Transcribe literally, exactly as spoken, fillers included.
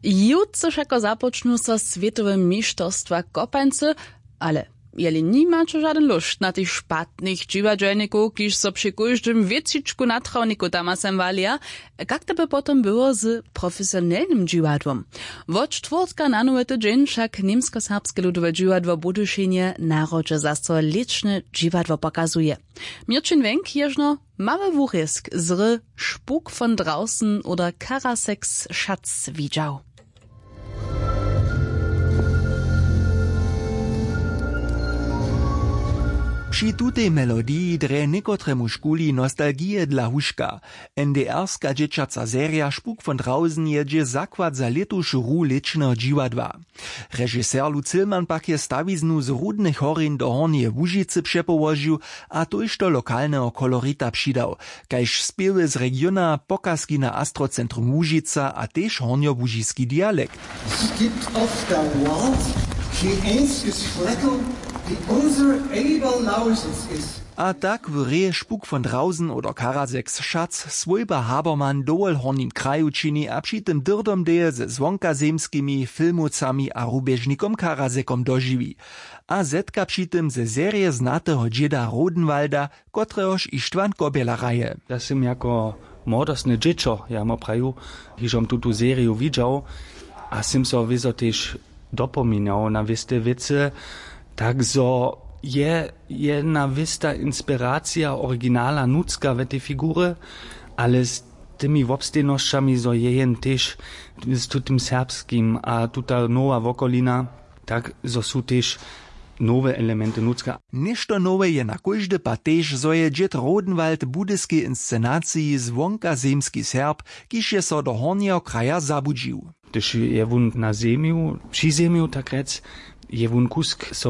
Jutře wšako započnu so swětowe mišterstwa kopańcy, ale jeli nimaće žadyn lóšt na tych špatnych dźiwadźelnikow, kiž so při kóždym wětřičku na trawniku tamasem walija, kak to by potom było z profesionelnym dźiwadłom? Wot štwórtka na nowy tydźeń wšak němskoserbske ludowe dźiwadło w Budyšinje na hrodźe zaso lěćne dźiwadło pokazuje. Měrćin Wenk ježno mały wurězk z hry Spuk von draußen oder Karaseks Schatz widźał. Při tutej melodiji drje někotremuž kuli nostalgije dla huška. N D R-ska dźěćaca serija Spuk von draußen je dźě zakład za lětušu hru lěćneho dźiwadła. Režiser Lou Zillmann pak je stawiznu z Rudnych horjeń do Hornjeje Łužicy přepołožił a tójšto lokalneho kolorita přidał, kaž spěwy z regiona, pokazki na Astrocentrum Łužica a tež hornjołužiski dialekt. Es gibt auf der Welt kein einziges Fleckl, wie unser Eberlausitz ist. A tak w reje Spuk von draußen oder Karaseks Schatz swójba Habermann dowol w hornim kraju čini a při tym dyrdom deje ze zwonkazemskimi filmowcami a rubježnikom Karasekom dožiwi. A zetka při tym ze serije znateho dźěda Rodenwalda, kotrehož Ištwan Kobjela hraje. Ja sym jako młodostne dźěćo, ja mu praju, hižom tutu seriju widźał a sym so wězo tež dopominał na wěste wěcy, tak zo je jedna wěsta inspiracija originala nutřka we tej figurje, ale z tymi wobstejnosćami zo je jen tež z tutym serbskim a tuta nowa wokolina, tak zo su tež nowe elementy nutřka. Něšto nowe je na kóždy pad tež, zo je dźěd Rodenwald w budyskej inscenaciji zwonkazemski Serb, kiž je so do hornjeho kraja zabudźił. Hdyž je wón na zemju při zemju, tak rjec, je wón kusk so